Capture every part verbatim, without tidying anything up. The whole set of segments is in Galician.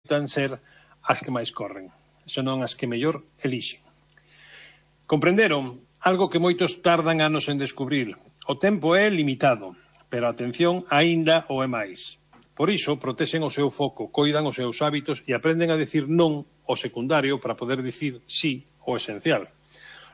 adoitan ser as que máis corren, senón as que mellor elixen. Comprenderon algo que moitos tardan anos en descubrir. O tempo é limitado, pero a atención aínda o é máis. Por iso, protexen o seu foco, coidan os seus hábitos e aprenden a decir non ao secundario para poder dicir sí ao esencial.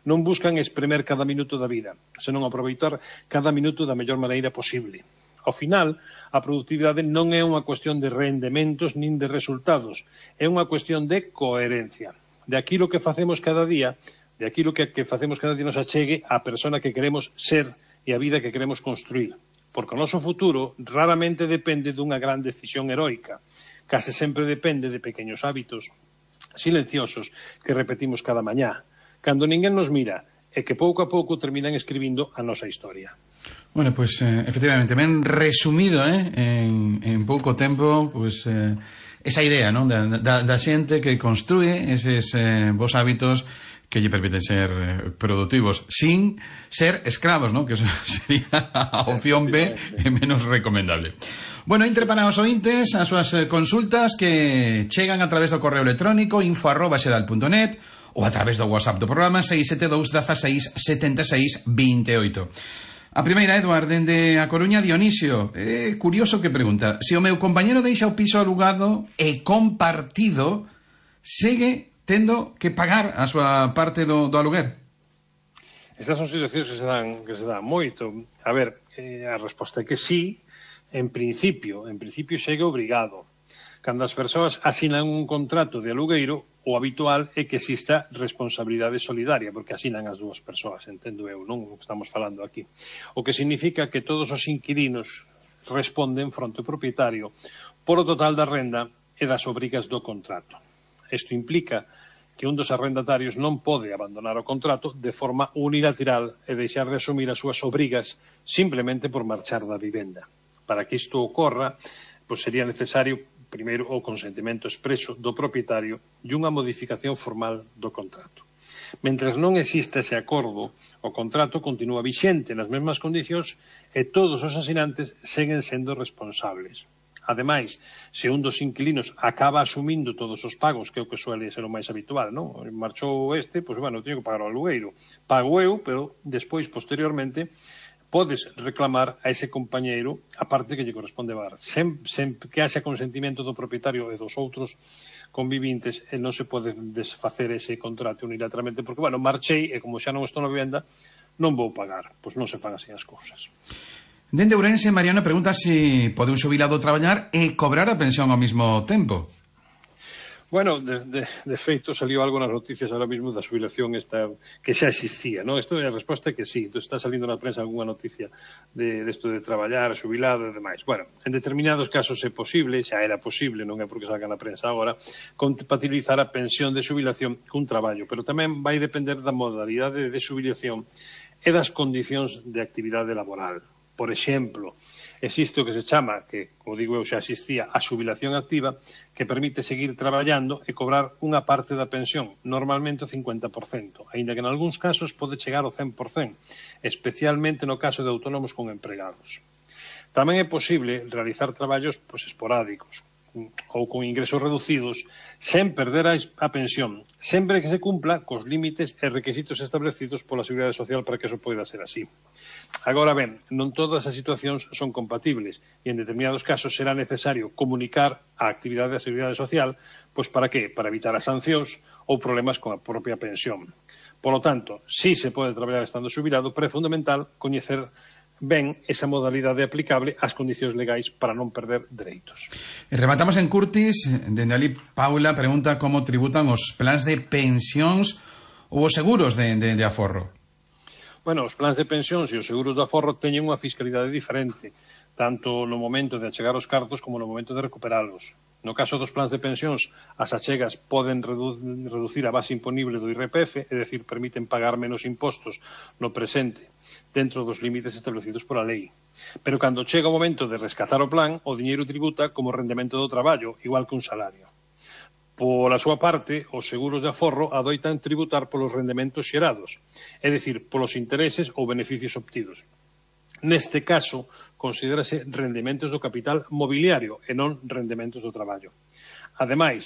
Non buscan espremer cada minuto da vida, senón aproveitar cada minuto da mellor maneira posible. Ao final, a produtividade non é unha cuestión de rendementos nin de resultados, é unha cuestión de coherencia, de aquilo que facemos cada día, de aquilo que, que facemos cada día nos achegue á persona que queremos ser e a vida que queremos construir. Porque o noso futuro raramente depende dunha gran decisión heroica, case sempre depende de pequenos hábitos silenciosos que repetimos cada mañá, cando ninguén nos mira, e que pouco a pouco terminan escribindo a nosa historia. Bueno, pues eh, efectivamente, ben resumido, eh, en, en pouco tempo, pues eh, esa idea, ¿no? da, da, da xente que construye eses eh, bons hábitos que lle permiten ser eh, productivos sin ser escravos, ¿no? Que eso sería a opción B e menos recomendable. Bueno, entre para os ointes as súas consultas que chegan a través do correo electrónico info arroba xeral punto net ou a través do WhatsApp do programa seis sete dous, dezasseis, setenta e seis, vinte e oito. A primeira, Eduard, dende a Coruña, Dionisio. É curioso que pregunta: se o meu compañero deixa o piso alugado e compartido, segue tendo que pagar a súa parte do, do aluguer? Estas son situacións que se dan, que se dan moito. A ver, eh, a resposta é que sí, en principio, en principio segue obrigado. Cando as persoas asinan un contrato de alugueiro, o habitual é que exista responsabilidade solidaria, porque asinan as dúas persoas, entendo eu, non o que estamos falando aquí. O que significa que todos os inquilinos responden fronte ao propietario por o total da renda e das obrigas do contrato. Isto implica que un dos arrendatarios non pode abandonar o contrato de forma unilateral e deixar de asumir as súas obrigas simplemente por marchar da vivenda. Para que isto ocorra, pois sería necesario primeiro o consentimento expreso do propietario e unha modificación formal do contrato. Mentres non existe ese acordo, o contrato continúa vixente nas mesmas condicións e todos os asinantes seguen sendo responsables. Ademais, se un dos inquilinos acaba asumindo todos os pagos, que é o que suele ser o máis habitual, non? Marchou este, pois, bueno, teño que pagar o alugueiro. Pago eu, pero despois, posteriormente, podes reclamar a ese compañeiro a parte que lle corresponde pagar. Sem, sem que haxa consentimento do propietario e dos outros convivintes, e non se pode desfacer ese contrato unilateralmente, porque, bueno, marchei e como xa non estou na vivenda, non vou pagar. Pois non se fan así as cousas. Dende Ourense, Mariano pregunta se pode un xubilado traballar e cobrar a pensión ao mesmo tempo. Bueno, de, de, de feito, salió algo nas noticias ahora mismo da xubilación esta, que xa existía, ¿no? Isto é a resposta que sí. Entón, está salindo na prensa algunha noticia de, de esto de traballar, xubilado e demais. Bueno, en determinados casos é posible, xa era posible, non é porque salga na prensa agora, compatibilizar a pensión de xubilación cun traballo, pero tamén vai depender da modalidade de xubilación e das condicións de actividade laboral. Por exemplo, existe o que se chama, que, como digo eu, xa existía, a xubilación activa, que permite seguir traballando e cobrar unha parte da pensión, normalmente o cincuenta por cento, aínda que en algúns casos pode chegar ao cen por cento, especialmente no caso de autónomos con empregados. Tamén é posible realizar traballos pois, esporádicos ou con ingresos reducidos sen perder a pensión, sempre que se cumpla cos límites e requisitos establecidos pola Seguridade Social para que eso poida ser así. Agora ben, non todas as situacións son compatibles e en determinados casos será necesario comunicar a actividade da Seguridade Social, pois para que? Para evitar as sancións ou problemas con a propia pensión. Por lo tanto, si se pode traballar estando xubilado, pero é fundamental coñecer ben esa modalidade aplicable ás condicións legais para non perder dereitos. E rematamos en Curtis, dende ali Paula pregunta como tributan os plans de pensións ou os seguros de, de, de aforro. Bueno, os plans de pensións e os seguros de aforro teñen unha fiscalidade diferente, tanto no momento de achegar os cartos como no momento de recuperalos. No caso dos plans de pensións, as achegas poden redu reducir a base imponible do I R P F, é dicir, permiten pagar menos impostos no presente, dentro dos límites establecidos pola lei. Pero cando chega o momento de rescatar o plan, o diñeiro tributa como rendemento do traballo, igual que un salario. Pola súa parte, os seguros de aforro adoitan tributar polos rendementos xerados, é dicir, polos intereses ou beneficios obtidos. Neste caso, considérase rendementos do capital mobiliario e non rendementos do traballo. Ademais,